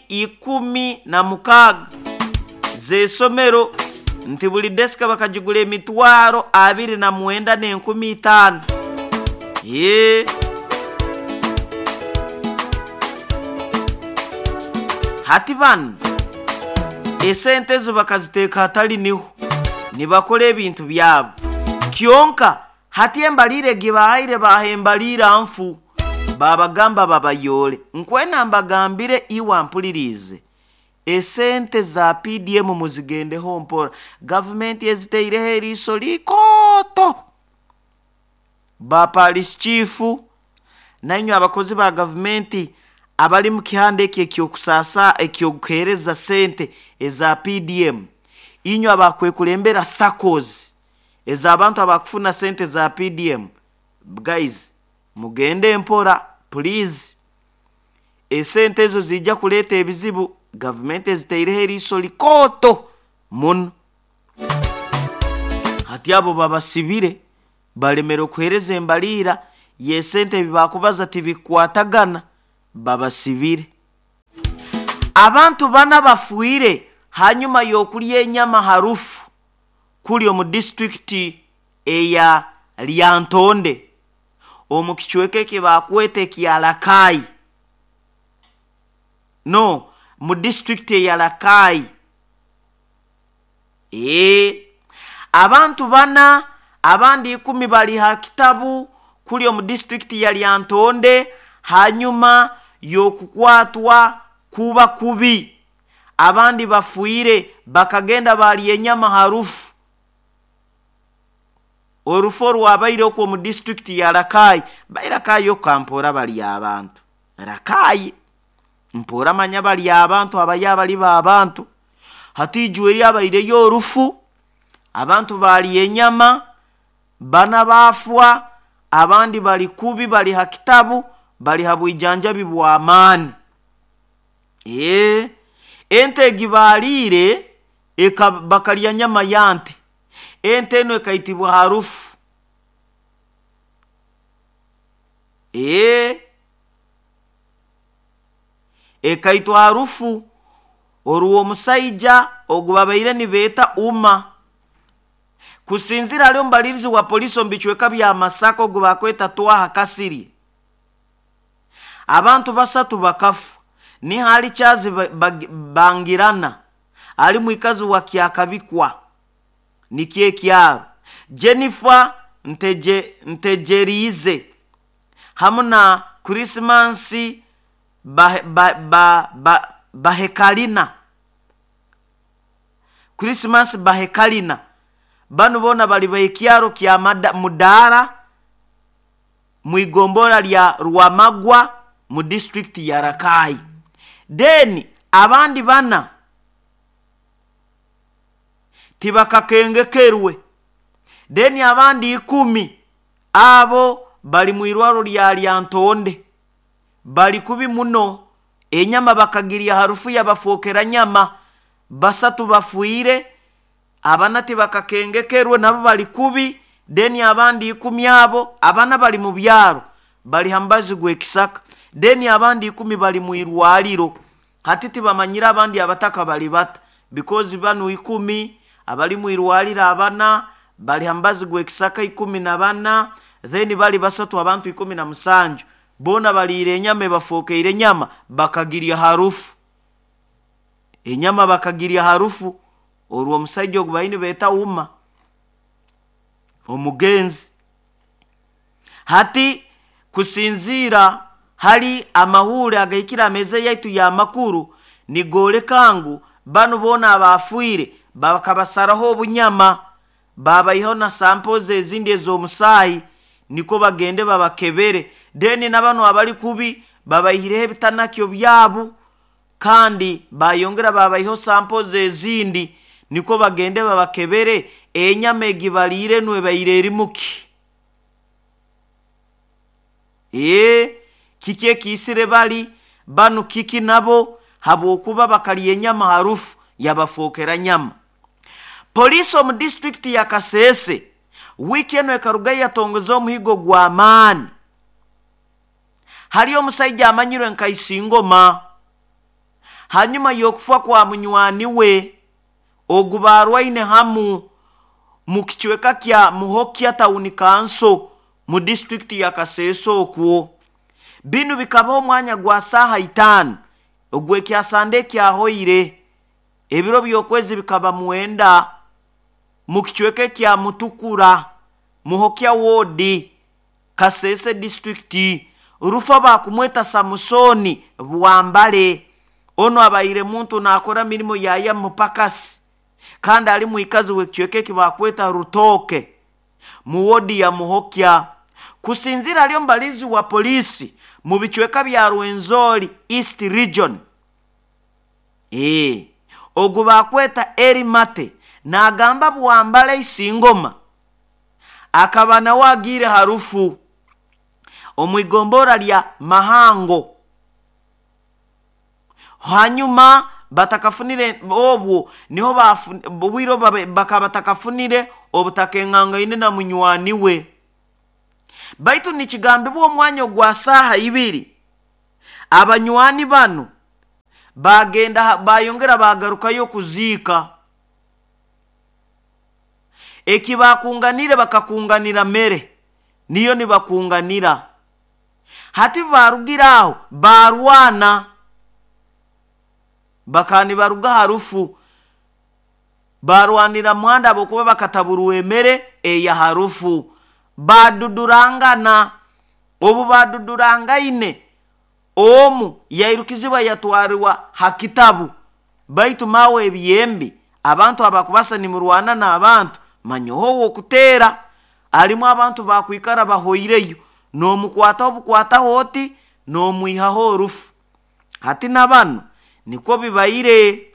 Enkumi 16 z'esomero nti buli desika bakagigura emitwaro 29,500. Ye hati banu esente ezo bakaziteeka hatali niho nibakora ebintu byabo. Kyonka hati embaliire egi bahaire, baha embaliira nfu, babagamba babayore. Nkwena mbagambire, iwe mpuliriize, esente za PDM muzigendeho mpora. Gavumenti eziteireho eriiso likooto. Ba parish chief nainywe abakozi ba gavumenti abali mu kihanda eki ekyokusaasa, ekyokuheereza sente eza PDM, inywe abakwekulembera SACCOs ez'abantu abakufuna sente za PDM, guys, mugende mpora please. Esente ezo ziija kuleeta ebizibu. Gavumenti eziteireho eriiso likooto muno. Hati abo babasibire, balemere okuheereza embaliira y'esente, ebi bakubaza tibikukwatagana, babasibire. Abantu bana bafiire hanyuma y'okulya enyama harufu kuli omu disitulikiti eya Lyantonde omu kicweka eki bakweta ekya Rakai. No, mu disitulikiti eya Rakai. Abantu bana, abandi 10 bali ha kitabu kuli omu disitulikiti ya Lyantonde hanyuma y'okukwatwa kuba kubi. Abandi bafiire, bakagenda baalya enyama harufu. Orufu orwabaire okwo omu disitulikiti ya Rakai, bai Rakai okukampora bali abantu. Rakai mpora manya bali abantu, abayo abali b'abantu. Hati ijwe eri abaireyo orufu, abantu baalya enyama, bana baafwa, abandi bali kubi, bali ha kitabu, bali ha bwijanjabi bw'amaani. Ente egi baaliire, bakalya nyama ya nte. Ente enu ekaitibwa harufu. Ekaitwa harufu orw'omusaija ogu babaire nibeeta Uma. Kusinzira hali omubalirizi wa poliisi omu bicweka bya Masaka ogu bakweta Twaha Kasirye, abantu basatu bakafa. Ni hali Charles Bangirana ali mwikazi wa Kyakabikwa nikyo ekyaro, Jennifer Ntejeriize hamu na Christmas Bahekalina. Christmas Bahekalina banu boona bali b'ekyaro kya Mudaara mu igombora lya Rwamagwa mu disitulikiti ya Rakai. Then abandi bana tibakakengekerwe. Then abandi 10 abo bali mu irwaro lya Lyantonde, bali kubi muno. Enyama bakagirya harufu yabafookera nyama. Basatu bafiire, abana tibakakengekerwe, nabo bali kubi. Then abandi 10 abo abana bali mu byaro, bali ha mubazi gw'ekisaka. Then abandi 10 bali mu irwaliro. Hati tibamanyire abandi abataka bali bata, because banu 10 abali mu irwaliro, abana bali ha mubazi gw'ekisaka 14, then bali basatu, abantu 17 boona baliire enyama ebafookeire enyama, bakagirya harufu. Enyama bakagirya harufu orw'omusaija ogu baine beeta Uma omugenzi. Hati kusinziira hali amahuure agahikire ameeza yaitu y'amakuru, nigooleka ngu banu boona abaafiire bakabasaraho obunyama, babaihaho na samples ezindi ez'omusaayi nikwo bagende babakebere. Then na banu abali kubi babaihireho ebitanakyo byabo, kandi bayongera babaihaho samples ezindi nikwo bagende babakebere enyama egi baliire enu ebaire erimuki. Kiki ekiisire bali banu, kiki nabo, habwokuba bakalya enyama harufu yabafookera nyama. Poliisi omu disitulikiti ya Kasese wiiki enu ekarugayo yatongeza omuhigo gw'amaani hali omusaija amanyirwe nka Isingoma. Hanyuma y'okufa kwa munywani we ogu barwaine hamu mu kicweka kya Muhokya Town Council mu disitulikiti ya Kasese. Okwo binu bikabaho omwanya gwa saaha 5 ogw'ekyasande ekyahoire, ebiro by'okwezi bikaba 9, mu kicweka ekya Mutukura, Muhokya Ward, Kasese disitulikiti. Rufa bakumweta Samusoni Bwambale. Ono abaire muntu naakora mirimo yaya mupakasi, kandi ali mwikazi w'ekicweka eki bakweta Rutoke mu wodi ya Muhokya. Kusinzira ali omubalizi wa polisi mu bicweka bya Rwenzori East Region, ogu bakweta Eri Mate, naagamba Bwambale Isingoma akaba nawe agiire harufu omu igombora lya Mahango. Hanyuma batakafunire obwo niho bwire bakaba batakafunire obutakengangaine na munywani we. Baitu nikigambibwa omwanya ogwa saaha 2 abanywani banu bagenda bayongera bagarukayo kuziika. Eki bakunganire bakakunganira mere niyo nibakunganira. Hati barugira aho barwana, bakani baruga harufu barwanira muhanda abokuba bakataburwa emere eya harufu, badudurangana. Obu badudurangaine, omu yairukizibwa yatwarwa hakitabu. Baitu mawe ebyembi abantu abakubasa nimurwana n'abantu manyoho wokuteera alimu abantu bakwikara bahoireyo, n'omukwataho bukwataho oti n'omwihaho orufu. Hati na bano nikwo bibaire,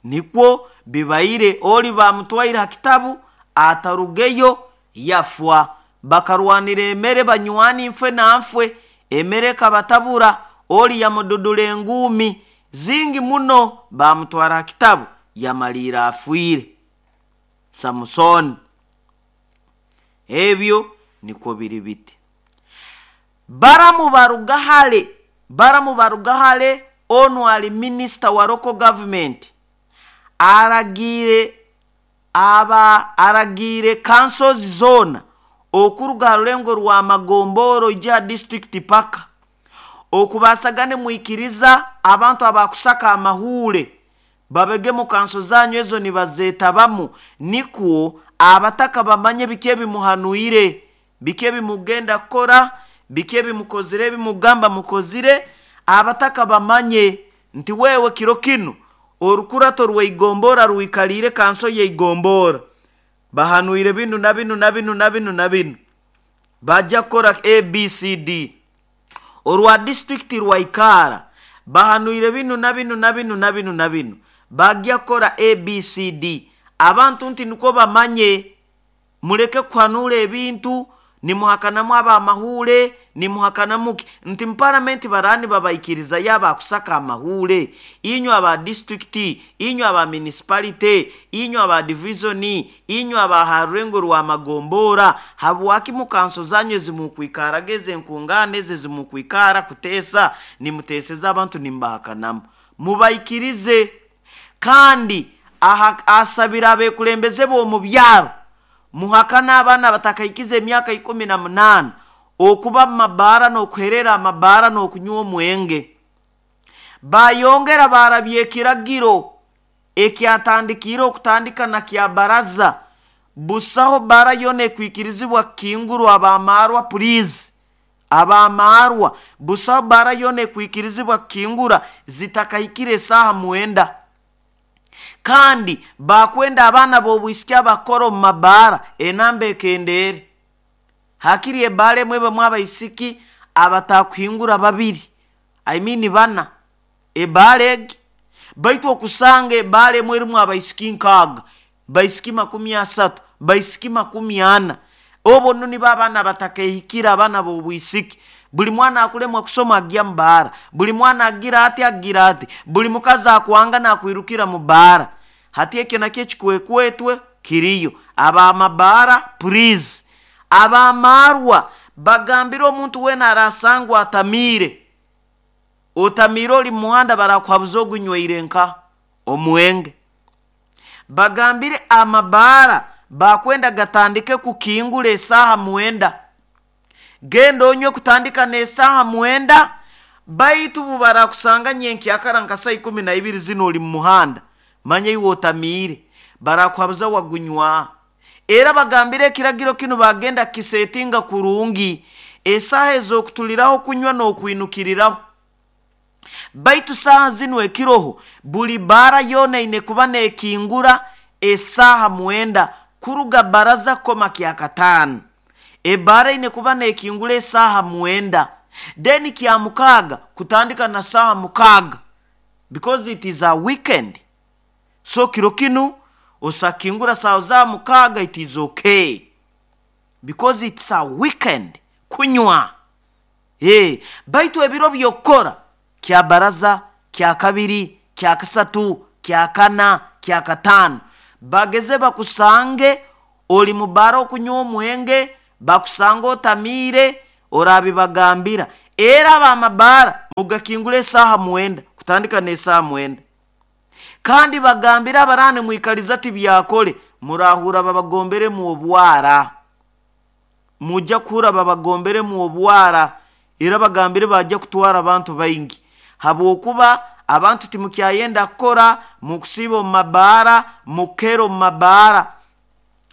nikwo bibaire. Oli bamutwaire ha kitabu atarugeyo yafwa. Bakarwanira emere banywani nfwe na nfwe, emere ekabatabura. Oli yamududura enguumi zingi muno, bamutwara ha kitabu yamaliira afwire. Samusoni. Ebyo nikwo biri biti. Baramu baruga hale, onu ali minisita wa local government aragiire councils zona okuruga ha rulengo rwa Magomboro ija district paka okubasagane mwikiriza abantu abakusaka amahure babege mu kanso zanyu ezo nibazeetabamu, nikwo abataka bamanye biki ebimuhanuire, biki ebimugenda kukora, biki ebimukozire, ebimugamba mukozire. Abataka bamanye nti wewe kiro kinu orukurato rweigombora rwikalire kanso yeigombora, bahanuire binu na binu na binu na binu na binu, bajja kukora ABCD. Orwa district rwaikara bahanuire binu na binu na binu na binu na binu, bajja kukora ABCD. Abantu nti nikwo bamanye, muleke kuhanura ebintu nimuhakanamu abamahure, nimuhakanamu nti mparamenti barani babaikiriza yaba kusaka amahure. Inywe aba district, inywe aba municipality, inywe aba division, inywe aba harengo rwa Magombora, habwaki mukanso zanyu zimukwikara geze nkungane ze zimukwikara kutesa nimuteseza abantu nimbahakanamu, mubaikirize. Kandi asabira abekulembeze bo mu byaro muhakana abaana batakaikiza emyaka 18 okuba mu mabaara n'okuherera amabaara n'okunywa omwenge. Bayongera barabye ekiragiro ekyatandikiire okutandika na kya baraza, busaho bara yona ekwikirizibwa kukingurwa abamarwa, please abamarwa, busaho bara yona ekwikirizibwa kukingura zitakahikire esaaha 9. Kandi bakwenda abaana b'obwisiki abakora omu mabaara enamba ekendere, hakiri ebaara emwe ebemu abaisiki abatakuhingura 2, I mean 4 ebaara egi. Baitu okusanga ebaara emwe erimu abaisiki 6, baisiki 30, baisiki 40. Obo nno nibo abaana batakehikire, abaana b'obwisiki. Buli mwana akulemwa kusoma agya mu baara, buli mwana agira ati agira ati, buli mukazi akwanga nakwirukira mu baara. Hati ekyo nakyo ekikwekwetwe kiriyo. Abamabaara please, abamarwa bagambire omuntu weena arasangwa atamiire, Otamiire oli mumuhanda barakuhabuza ogunyweire nka omwenge. Bagambire amabaara bakwenda gatandike kukingura esaaha 9. Genda onywe kutandika n'esaaha 9, baitu bubarakusanga nyenkyakara nka saa 12 zinu oli mumuhanda, manya iwe otamiire, barakuhabuza wagunywa. Era bagambire ekiragiro kinu bagenda kisetinga kurungi, esaaha ez'okutuliraho kunywa n'okwinukiriraho. Baitu saaha zinu ekiroho, buli baara yoona eine kuba neekingura esaaha 9 kuruga baraza kukoma kyakataano. Ebaara eine kuba neekingura esaaha 9. Then kya mukaaga kutandika na saaha 6 because it is a weekend. So kiro kinu osakingura saaha za 6, it is okay because it's a weekend kunywa. Baitu ebiro by'okukora kya baraza, kya kabiri, kya kasatu, kya kana, kya kataano, bageze bakusange oli mubaara okunywa omwenge, bakusange otamiire, orabibagambira. Era ab'amabaara mugakingura esaaha 9, kutandika n'esaaha 9. Kandi bagambire abarani mwikaliza tibyakole, murahura babagomberemu obwara. Mujja kuhura babagomberemu obwara, era bagambire bajja kutwara abantu baingi. Habwokuba abantu timukyayenda kukora, mukusiiba omu mabaara, mukukera omu mabaara.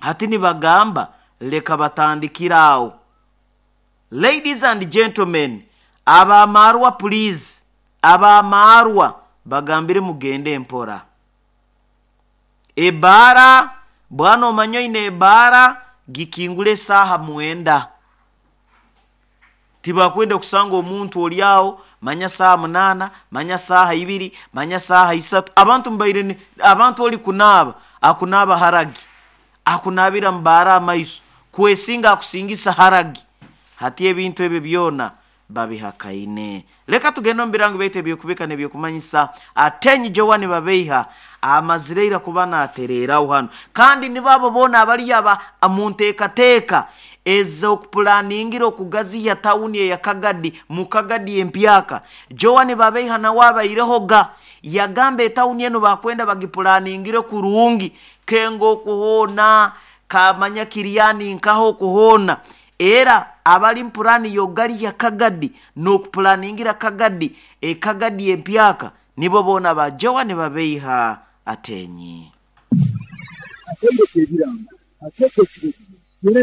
Hati nibagamba leka batandikire aho. Ladies and gentlemen, ab'amaarwa please, ab'amaarwa bagambire mugende mpora. Ebaara, bwana omanya oine ebaara, gikingura esaaha 9. Tibakwenda kusanga omuntu oli aho, manya saaha 8, manya saaha 2, manya saaha 3. Abantu mbaire ni, abantu oli kunaaba, akunaaba haragi, akunaabira mubaara amaiso, kwesinga akusingisa haragi. Hati ebintu ebyo byona babihakaine. Leka tugende omu birango byaitu eby'okubika n'ebyokumanyisa. Atenyi Joan Babeiha amazire ira kuba naatereeraho hano. Kandi nibo abo boona abali aba mu nteekateeka ez'okupulaningira okugaziya tawuni eya Kagadi mu Kagadi empyaka. Joan Babeiha nawe abaireho ga yagamba etawuni enu bakwenda bagipulaningire kurungi, kenga okuhoona, kamanya kiryani nkaho okuhoona. Era abali mpurani y'ogaliya Kagadi n'okupulaningira Kagadi ekagadi empyaka nibo boona ba Joan Babeiha Atenyi. Akaire k'ebirango akeeka ekiro kino.